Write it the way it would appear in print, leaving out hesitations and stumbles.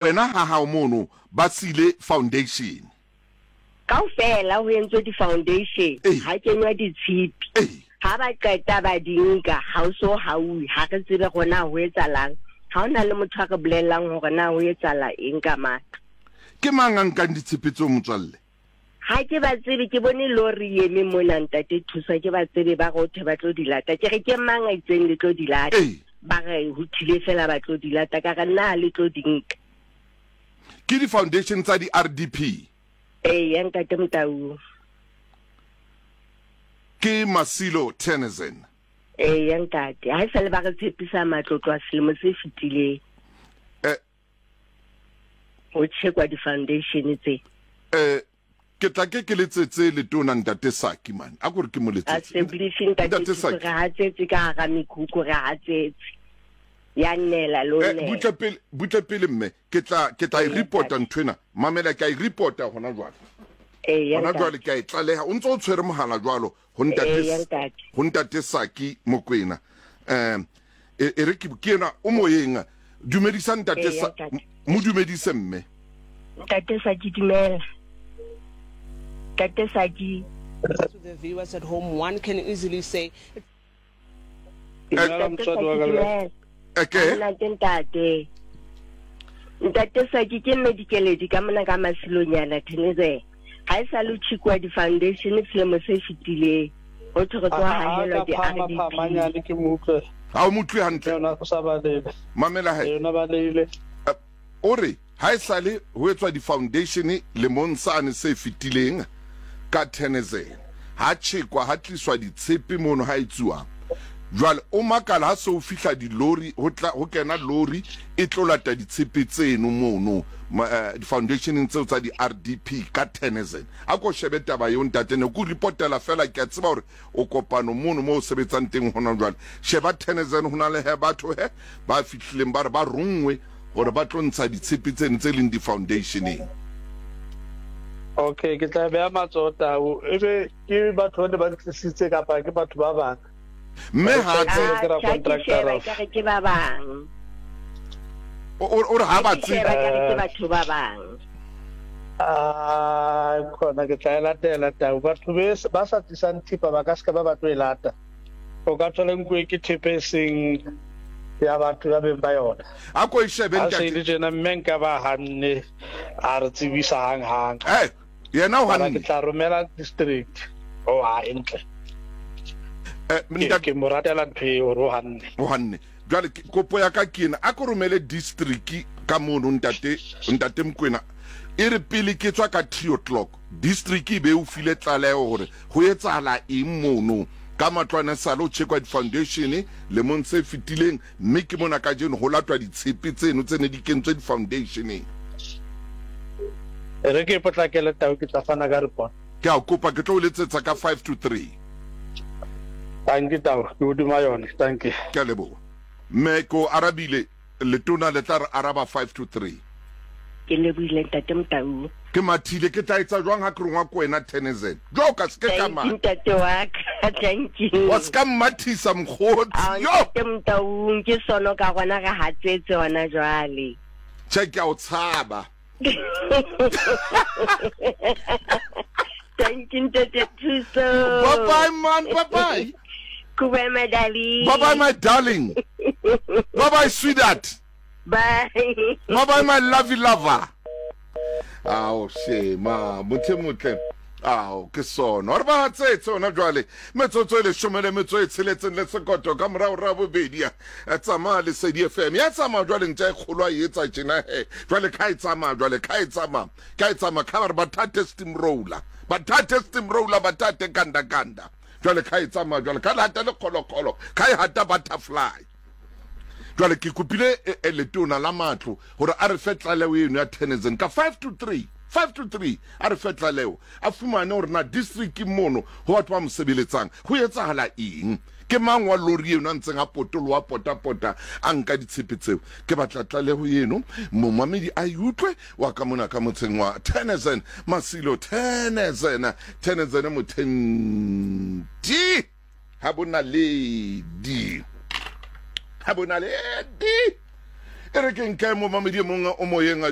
Wena ha hao mono ba siile foundation. Kaofela ho entswe di-foundation, ha kenywa ditshipi. Ha ba qeta ba di nka, ha o so hauwe, ha re tsebe hore na ho etsahalang. Ha ho na le motho a re bolellang hore na ho etsahala eng ka matlo. Ke mang a nkang ditshipi tseo motswalle? Ha ke ba tsebe, ke bone lori e eme mona ntate Thuso, ha ke ba tsebe, ba re ho thwe ba tlo di lata. Ke re ke mang a itseng le tlo di lata? Ba re ho thile fela ba tlo di lata, ka re nna ha le tlo di nka. Ke di-foundation tsa di-RDP? Eya ntate Motau. Ke Masilo Theunissen. Eya ntate, ha e sa le ba re tshepisa matlotlo a selemo se fetileng. Eh, Ho checkwa di-foundation tse. Eh, ke tla ke ke letsetse letona ntate Saki man. A ko re ke mo letsetse. Assemblies ntate Saki. Re hatsetse ka hara mekhukhu, re hatsetse. Ya nnela lo eh, nela. Butle pele, butle pele mme, ke tla ke tla e reporta nthwena. Mamela ke a e reporta hona jwale. Eh, hona jwale ke a e tlaleha. O ntse o tshwere mohala jwalo ho ntate ho ntate Saki Mokwena. Eh, e, e re ke ke ena o moyeng. Dumedisa ntate sa mo dumedise mme. Ntate Saki dumela. Ntate Saki. To the viewers at home, one can easily say Dumela motswadi wa ka le kae? Okay. Ntate ntate. Ntate Saki ke mme Dikeledi ka mona ka Masilonyana Thenezela. Ga e sa le tšhikwa di-foundation selemo se fetileng. Ho thwe re tlo hahelwa di-RDP. Ke mo utlwe. Ha o mo utlwe hantle. Yona o sa balehile. Mamela he. Yona balehile. O re ha e sale ho etswa di-foundation lemong sane se fetileng ka Theunissen, ha tjhekwa, ha tliswa ditshepe mono ha etsuwang. Jwale o makala ha se ho fihla dilori, ho tla, ho kena lori e tlo lata ditshepe tseno mono di-foundationeng tseo tsa di-RDP ka Theunissen. A ko shebe taba eo ntate, ne ke o reportela fela, ke a tseba hore O kopano mono mo o sebetsang teng hona jwale. Sheba Theunissen ho na le he batho he ba fihlileng ba re ba ronngwe hore ba tlo ntsha ditshepe tseno tse leng di-foundationeng. Okay, ke tla beha matsoho tau. Ebe ke batho ba ne ba tlisitse kapa ke batho ba bang? Mme ha tse ke ra contractor. Ke re ke ba bang. O re ha ba tsebe. Ke re ke batho ba bang. Ah, khona ke tla e latela tau. Batho ba sa tlisang thipa ba ka se ka ba ba tlo e lata. O ka thola nkuwe ke thepa e seng ya batho ba beng ba yona. A ko e shebe ntate. Ha se le tjena mme nka ba hanne a re tsebisa hang hang. Eh, yena o hanne. Ke tla romela district. Oh, ha e ntle. Eh, ke mo ratela ntho eo hore o hanne. O hanne. Jwale kopo ya ka ke ena, a ko romele district ka mono ntate, ntate Mokwena, e re pele ke tswa ka 3 o'clock, district e be e o file tlaleho hore ho etsahala eng mono ka matlwana sale ho chekwa di-foundation lemong se fetileng, mme ke mona kajeno ho latwa ditshepe tseno tse ne di kentswe di-foundationeng. E re ke potlakele tau, ke tla fana ka report. Ke a kopa, ke tlo o letsetsa ka 5 to 3. Tanki tau, ke hodima yone. Tanki. Ke a leboha. Mme ke o arabile, letona le tla re araba 5 to 3. Ke lebohile ntate Motau. Ke mathile, ke tla etsa jwang ha ke rongwa ke wena Theunissen? Jo, ka se ke ka matha. Ntate wa ka, thank you. Wa se ka mmathisa mokgotsi. Yo. Ntate Motau, ke sono ka gona re hatsetse hona jwale. Tjhe, ke a o tshaba. Thank you, Ntate Thuso. Bye bye, man. Bye bye. Goodbye, my darling. Bye bye, my darling. Bye bye, sweetheart. Bye. Bye bye, my lovey lover. Ao, shema, motho e motle. Ao, ke sona. Hore ba hatsetse hona jwale. Metsotso e leshome le metso e tsheletseng le sekoto ka morao ra bobedi. Tsamaya Lesedi FM. Ya tsamaya jwale ntja e kgolo a e etsa tjena he. Jwale kha e tsamaya jwale kha e tsamaya. Kha e tsamaya kha ba re bathathe steamroller. Bathathe steamroller bathathe kanda kanda. Jwale kha e tsamaya jwale kha le hata le kgolokgolo. Kha e hata butterfly. Jwale ke kopile e, e, letona la matlo hore a re fe tlaleho eno ya Theunissen ka 5 to 3. 5 to 3 a re fe tlaleho a fumane hore na district mono ho batho ba mo sebeletsang ho etsahala eng. Ke mang wa lori eno a ntseng a potoloha pota-pota a nka ditshepe tseo? Ke batla tlaleho eno momamedi a e utlwe wa ka mona ka motseng wa Theunissen, Masilo Theunissen, Theunissen Mothenti ha bonaledi, ha bonaledi. E re ke nke momamedi e mong o moyeng.